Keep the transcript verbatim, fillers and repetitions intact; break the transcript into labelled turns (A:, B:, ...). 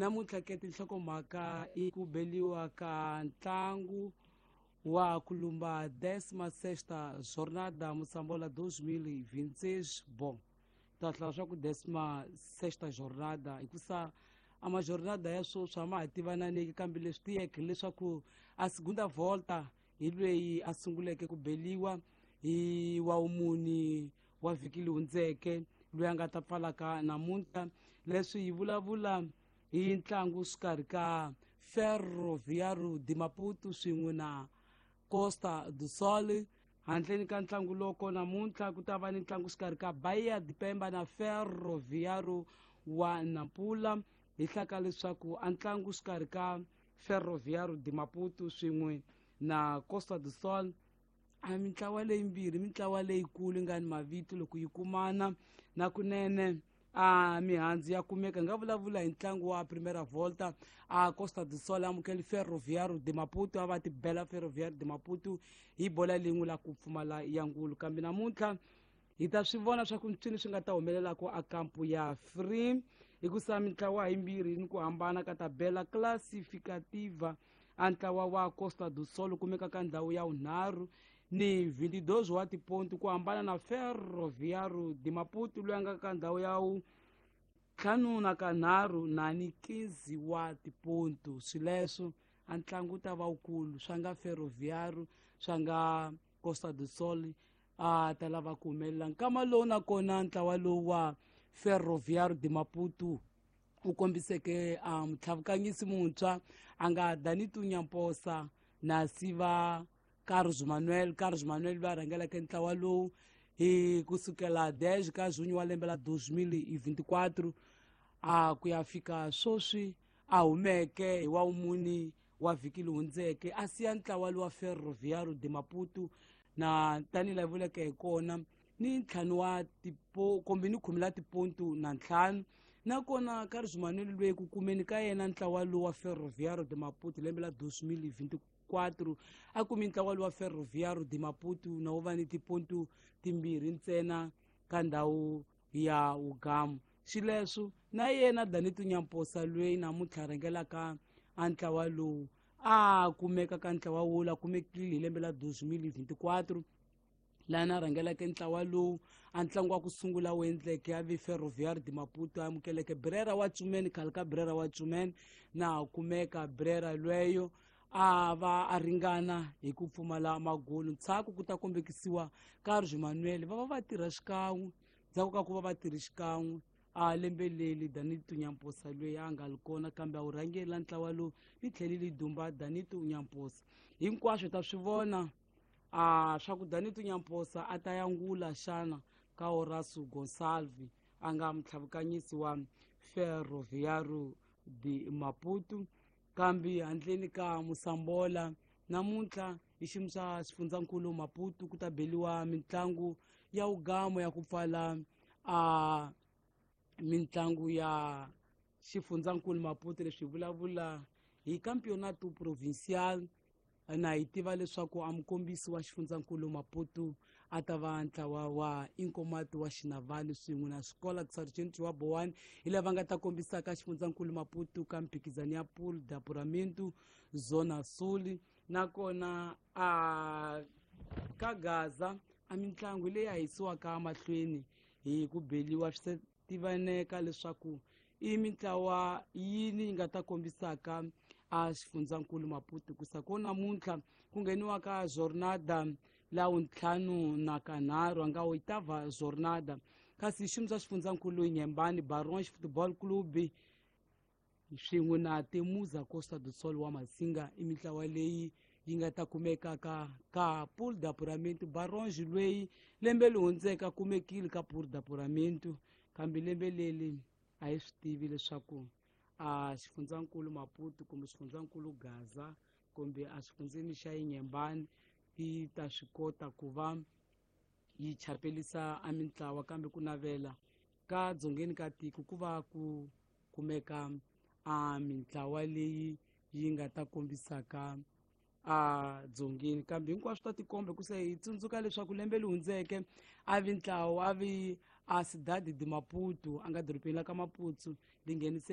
A: Namuntlha ke tinhlokomhaka i ku beliwa ka ntlangu wa kulumba décima sexta jornada Moçambola dois mil e vinte e seis. Bom, ta hlaya swa ku décima sexta jornada hikusa a majornada ya sweswi a ma ha tivananeki, kambe leswi tiyeke leswaku a segunda volta hi lweyi a sunguleke ku beliwa hi wa wumuni wa vhiki leyi hundzeke, loyi a nga ta pfalaka namuntlha. Leswi hi vulavula hi ntlangu xikarhi ka Ferroviário de Maputo swin'we na Costa do Sol. Handleni ka ntlangu loko namuntlha ku ta va ni ntlangu xikarhi ka Bahia de Pemba na Ferroviário wa Nampula. Hi hlaka leswaku a ntlangu xikarhi ka Ferroviário de Maputo swin'we na Costa do Sol a mintlawa leyimbirhi, mintlawa leyikulu yi nga ni mavito loko yi kumana na kunene a mihandzu ya kumeka. Hi nga vulavula hi ntlangu wa Primeira Volta, a Costa do Sol amukeli Ferroviário de Maputo, a va tibela Ferroviário de Maputo hi bola lin'we la ku pfumala ya ngulu. Kambe namuntlha hi ta swi vona swa ku ncini swi nga ta humelelaka a kampu ya Free, hikusa mintlawa yimbirhi ni ku hambana ka tabela classificativa. A ntlawa wa Costa do Sol kumeka ka ndhawu ya vunharhu ni vinte e dois wa tipontu, ku hambana na Ferroviário de Maputo loyi a nga ka ndhawu ya ntlhanu na kanharhu na ni quinze wa tipontu. Swileswo a ntlangu wu ta va wukulu, swa nga Ferroviário swa nga Costa do Sol a ta lava ku humelela. Nkama lowu nakona ntlawa lowu wa Ferroviário de Maputo wu kombiseke a mutlhavukanyisi muntshwa a nga Danito Nyamposa na siva Carlos Manuel. Carlos Manuel loyi a rhangelaka ntlawa lowu hi kusukela dez ka junho wa lembe la dois mil e vinte e quatro a ku ya fika sweswi a humeke hi wa wumuni wa vhiki leyi hundzeke, a siya ntlawa lowa Ferroviário de Maputo na tanihi laha vuleke hi kona ni ntlhanu wa tipo kumbe ni khume la tipontu na ntlhanu. Nakona Carlos Manuel loyi ku kumeni ka yena ntlawa lowu wa Ferroviário de Maputo lembe la dois mil e vinte e quatro a kumi ntlawa lowu wa Ferroviário de Maputo na wu va ni tipontu timbirhi ntsena ka ndhawu ya Ugamu. Xileswo na yena Danito Nyamposa loyi namuntlha rhangelaka a ntlawa lowu a kumeka ka ntlawa wo la kumekile hi lembe la dois mil e vinte e quatro, laha na rhangelaka ntlawa lowu a ntlangu wa ku sungula wu endleke a vi Ferroviário de Maputo a amukeleke Brera wa Tsumen, khale ka Brera wa Tsumen, na kumeka Brera lweyo a va a ringana hi ku pfumala magolo. Ndzhaku ku ta kombekisiwa Carlos Manuel, va va va tirha xikan'we. Ndzhaku ka ku va va tirhi xikan'we a lembe leri Danito Nyamposa loyi a nga ri kona kambe a wu rhangela ntlawa lowu ni tlhelile dumba Danito Nyamposa. Hinkwaswo ta swi vona a swa ku Danito Nyamposa a ta yangula xana ka Horacio Gonçalves a nga mutlhavukanyisi wa Ferroviário de Maputo. Kambe handleni ka Moçambola namuntlha hi xiyimo xa xifundzankulu Maputo ku ta beliwa mitlangu ya ugamo ya ku pfala a mitlangu ya xifundzankulu Maputo. Leswi hi vulavula hi Campeonato Provincial, na hi tiva leswaku a mukombisi wa xifundzankulu Maputo a ta va ntlawa wa Inkomati wa Xinavani swin'we na Xikola Sargent wa Bowane, hi lava nga ta kombisaka xifundzankulu Maputo ka mphikizano ya Pool de Apuramento Zona Sul. Nakona a ka Gaza a mitlangu leyi a yisiwaka mahlweni hi ku beliwa, swi tivaneka leswaku i mitlawa yini yi nga ta kombisaka a xifundzankulu Maputo. Ku sa ko namuntlha ku ngheniwa ka jornada la wuntlhanu na kanharhu a nga oitava jornada, kasi xiyimo xa xifundzankulu Nyembani Barons Football Club swin'we na Temuza Costa do Sol wa Masinga i mitlawa leyi yi nga ta kumeka ka ka Pool de Apuramento. Barons loyi lembe leri hundzeke a kumekile ka Pool de Apuramento, kambe lembe leri a hi swi tivi leswaku a xifundzankulu Maputo kumbe xifundzankulu Gaza kumbe a xifundzeni xa Inyembani yi ta swi kota ku va yi chapelisa a mintlawa, kambe ku navela ka dzongeni ka tiko ku va ku kumeka a mintlawa leyi yi nga ta kombisaka a dzongeni. Kambe hinkwaswo ta tikomba ku se hi tsundzuka leswaku lembe leri hundzeke a vi ntlawa a vi a Cidade de Maputo a nga dorobeni la ka Maputo li ngheniseke